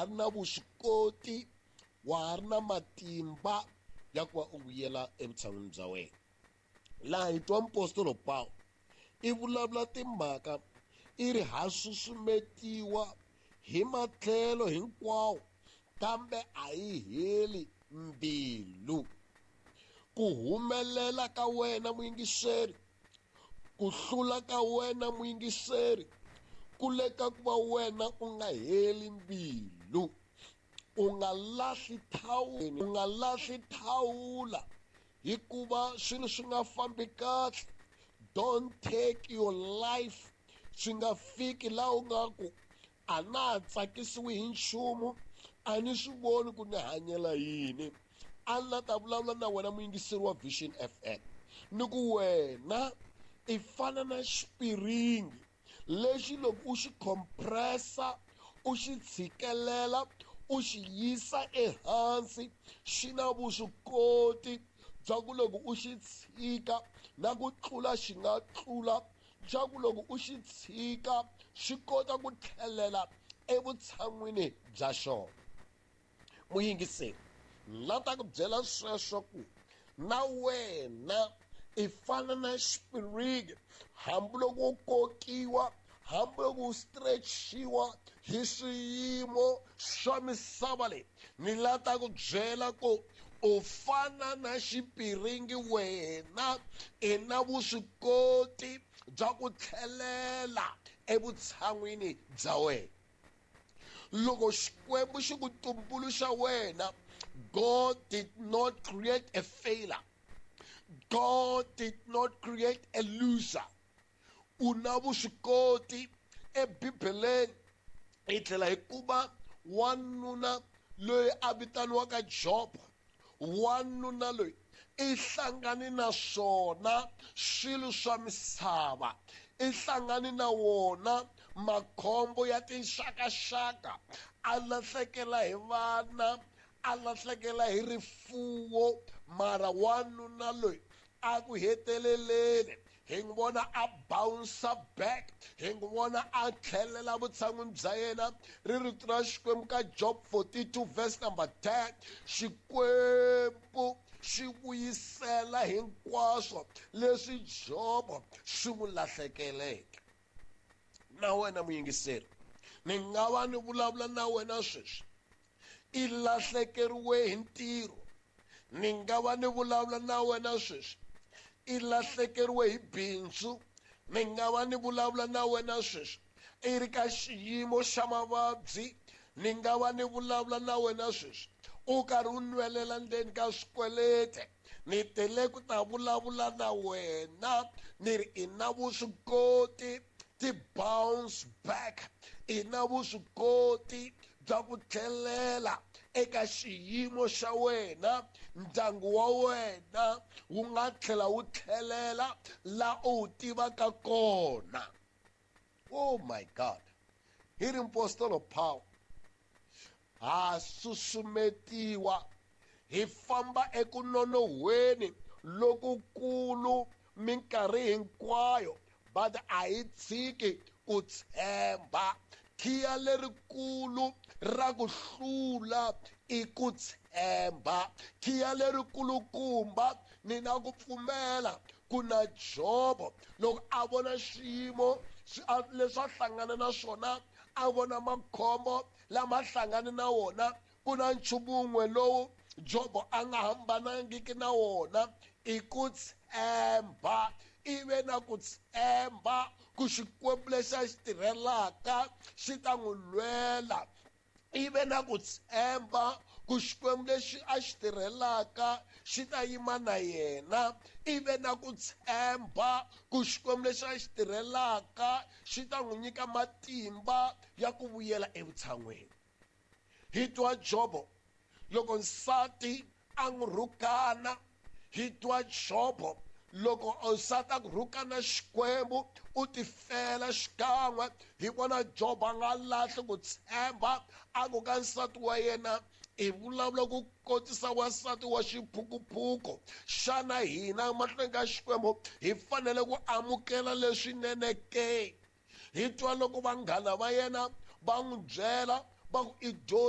ha ri na vuswikoti, wa ha ri na matimba ya ku va u vuyela evutshan'wini bya wena. Laha hi twa mupostolo Pawulo i vulavula timhaka i ri ha susumetiwa hi matlhelo hinkwawo kambe a yi heli mbilu. Ku humelela ka wena muyingiseri, ku hlula ka wena muyingiseri, ku le ka ku va wena u nga heli mbilu. U nga lahli thawula, u nga lahli thawula hikuva swilo swi nga fambi kahle. Don't take your life swi nga fiki laha u nga ku a na ha tsakisiwi hi nchumu, a ni swi voni ku ni hanyela yini. A ni la ta vulavula na wena muyingiseri wa Vision FM ni ku wena i fana na xipiringi lexi loko u xi compressa, u xi tshikelela, u xi yisa ehansi, xi na vuswikoti bya ku loko u xi tshika na ku tlula xi nga tlula, bya ku loko u xi tshika xi kota ku tlhelela evutshan'wini bya xona. Muyingiseri, la ta ku byela sweswo ku na wena i fana na xipiringi, hambiloko u kokiwa, hambiloko u stretchiwa hi swiyimo swa misava leyi, ni la ta ku byela ku u fana na xipiringi, wena i na vuswikoti bya ku tlhelela evutshan'wini bya wena. Loko Xikwembu xi ku tumbuluxa wena, God did not create a failure. God did not create a loser. U na vuswikoti eBibeleni hi tlhela hi kuma wanuna loyi a vitaniwaka Job. Wanuna loyi i hlangane na swona swilo swa misava, i hlangane na wona makhombo ya tinxakaxaka, a lahlekela hi vana, a lahlekela hi rifuwo, mara wanuna loyi a ku heteleleni hi n'wi vona a bounce back, hi n'wi vona a tlhelela vutshan'wini bya yena. Ri rito ra Xikwembu ka Job 42 verse number 10, Xikwembu xi vuyisela hinkwaswo leswi Job swi n'wi lahlekeleke. Na wena muyingiseri, ni nga va ni vulavula na wena sweswi, i lahlekeriwe hi ntirho. Ni nga va ni vulavula na wena sweswi, i lahlekeriwe hi bindzu. Ni nga va ni vulavula na wena sweswi, i ri ka xiyimo xa mavabyi. Ni nga va ni vulavula na wena sweswi, u karhi u nwelela ndzeni ka swikweleti. Ni tele ku ta vulavula na wena ni ri i na vuswikoti ti bounce back, i na vuswikoti bya ku tlhelela eka xiyimo xa wena. Ndyangu wa wena wu nga tlhela wu tlhelela la u wu tivaka kona. Oh my God, hi ri Mpostolo Paul, ha susumetiwa hi famba eku nonohweni lokukulu minkarhi hinkwayo, but a hi tshiki ku tshemba. Khiya lerikulu ra ku hlula i ku tshemba. Khiya lerikulukumba ni na ku pfumela ku na Jobo loko a vona xiyimo leswi a hlangana na swona, a vona makhombo lama hlangane na wona, ku na nchumu wun'we lowu Jobo a nga hambanangiki na wona, i ku tshemba. I ve na ku tshemba ku Xikwembu lexi a xi tirhelaka xi ta n'wi lwela. I ve na ku tshemba ku Xikwembu lexi a xi tirhelaka xi ta yima na yena. I ve na ku tshemba ku Xikwembu lexi a xi tirhelaka xi ta n'wi nyika matimba ya ku vuyela evutshan'weni. Hi twa Jobo loko nsati a n'wi rhukana, hi twa Jobo loko nsati a ku rhukana Xikwembu u tifela xikan'we. Hi vona Jobo a nga lahli ku tshemba, a ku ka nsati wa yena, i vulavula ku kotisa wansati wa xiphukuphuku. Xana hina mahlweni ka Xikwembu hi fanele ku amukela leswinene ke? Hi twa loko vanghana va yena va n'wi byela va ku i dyohile.